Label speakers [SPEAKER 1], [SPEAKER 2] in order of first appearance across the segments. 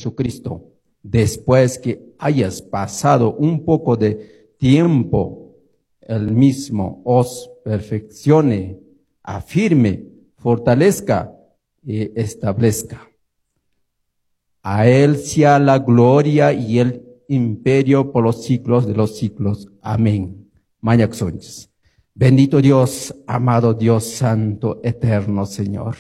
[SPEAKER 1] Jesucristo, después que hayas pasado un poco de tiempo, el mismo os perfeccione, afirme, fortalezca y establezca. A él sea la gloria y el imperio por los siglos de los siglos. Amén. Mañakusunchis. Bendito Dios, amado Dios Santo, eterno Señor.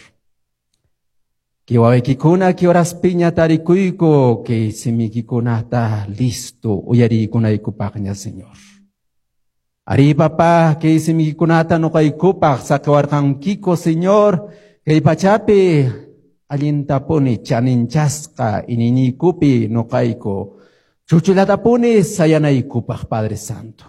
[SPEAKER 1] Kay wawaykikuna kay oraspiña tarikuyku kay simiykikunata listo uyariykunaykupaqña, Señor. Ari papá, kay simiykikunata nuqaykupaq saqiwarqankiku, Señor, kay pachapi allintapuni chaninchasqa iñiyniykupi nuqayku chuchullatapuni sayanaykupaq, Padre Santo.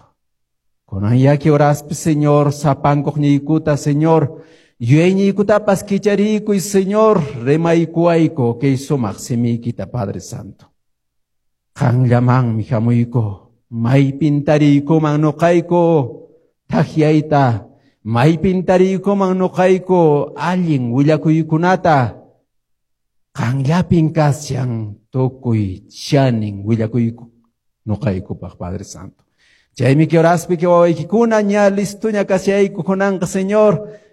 [SPEAKER 1] Kunan kay oraspi, Señor, sapankuqniykuta, Señor, yuyayniykutapas kichariykuy, Señor, rimaykuwayku kay sumaq simiykita, Padre Santo. Qanllamanmi hamuyku, maypin tariykuman nuqayku thakyayta, maypin tariykuman nuqayku allin willakuykunata, qanllapin kashan tukuy chanin willakuyku nuqaykupaq, Padre Santo. Chaymi kay oraspi kay wawaykikuna ña listuña kashayku kunanqa, Señor,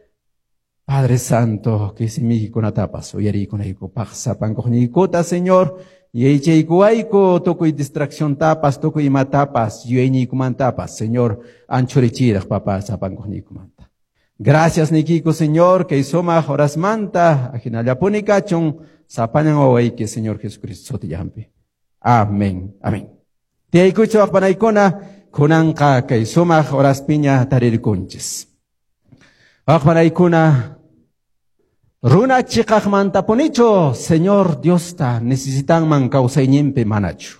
[SPEAKER 1] Padre Santo, kay simiykikunatapas uyariykunaykupaq sapankuqniykuta, Señor, yachaykuwayku tukuy distracción tapas, tukuy imatapas, yuyayniykumantapas, Señor, anchurichiraq, papá, sapankuqniykumanta. Gracias niykiku, Señor, kay sumaq horasmanta, ajinallapuni kachun, sapallan wawayki, Señor Jesucristo sutillanpi. Amén. Amén. Tiyaykuychik wawqipanaykuna, kunanqa kay sumaq horaspiña tarirkunchis. Wawqipanaykuna, runa chiqaqmantapunichu Señor Diosta necesitanman kawsayninpi manachu.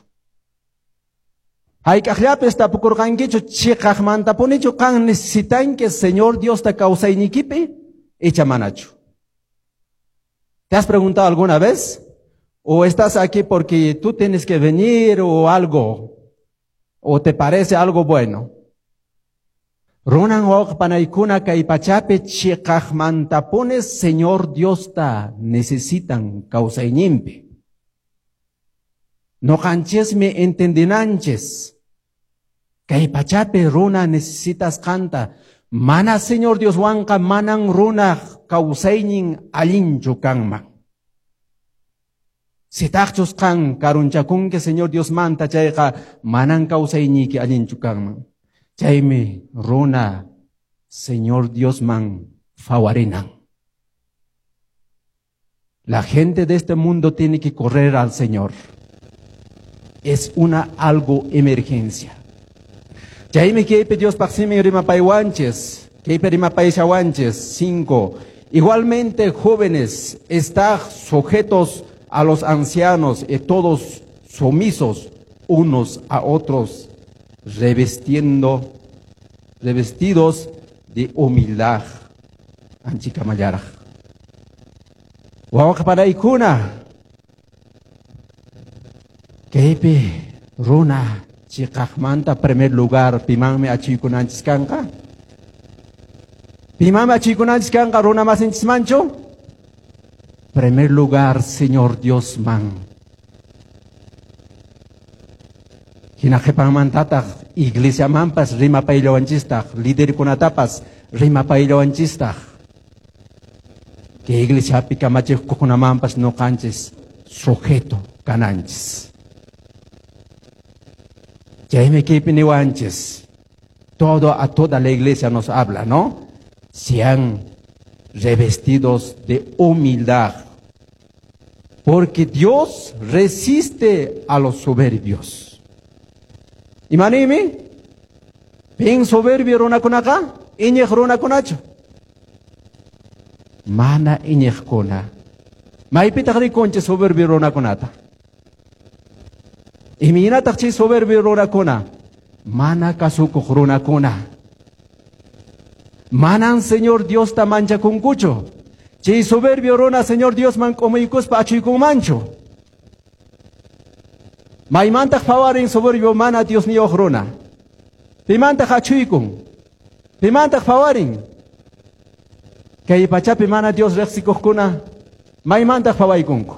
[SPEAKER 1] Hayk'aqllapis tapukurqankichu chiqaqmantapunichu qan necesitanki Señor Diosta kawsaynikipi icha manachu. ¿Te has preguntado alguna vez? ¿O estás aquí porque tú tienes que venir o algo? ¿O te parece algo bueno? Runan wawqipanaykuna kay pachapi chiqaqmantapuni Señor Diosta necesitan kawsayninpi. Nuqanchismi entendinanchis. Kay pachapi runa necesitasqanta. Mana Señor Dioswanqa manan runa kawsaynin allinchu kanman. Sitaqchus qan karunchakunki Señor Diosmanta chayqa manan kawsayniyki allinchu kanman. Chaymi runa Señor Diosman phawarinan. La gente de este mundo tiene que correr al Señor. Es una algo emergencia. Chaymi kaypi Diospaq simin rimapaywanchis, kaypi rimapayashawanchis. 5. Igualmente, jóvenes, estad sujetos a los ancianos y todos sumisos unos a otros, revestidos de humildad. Anchikamallaraq. Wawqipanaykuna, kaypi runa chiqaqmanta primer lugar pimanmi achuykunanchis kanqa? Pimanmi achuykunanchis kanqa runa masinchismanchu? Primer lugar, Señor Dios man. Hina qhipanmantataq iglesiamanpas rimapayllawanchistaq, liderkunatapas rimapayllawanchistaq. Kay iglesiapi kamachiqkunamanpas nuqanchis sujeto kananchis. Chaymi kaypi niwanchis. Todo a toda la iglesia nos habla, ¿no? Sean revestidos de humildad, porque Dios resiste a los soberbios. Imanimi? Pin soberbio runakunaqa? Iñiq runakunachu? Mana iñiqkuna. Maypitaq rikunchis soberbio runakunata? Imaynataq chay soberbio runakuna? Mana kasukuq runakuna. Manan Señor Diosta manchakunkuchu. Chay soberbio runa Señor Diosman k'umuykuspa achuykunmanchu. Maymantaq phawarin soberbio mana Diosniyuq runa. Pimantaq achuykun. Pimantaq phawarin. Kay pachapi mana Dios riqsikuqkuna maymantaq phawaykunku.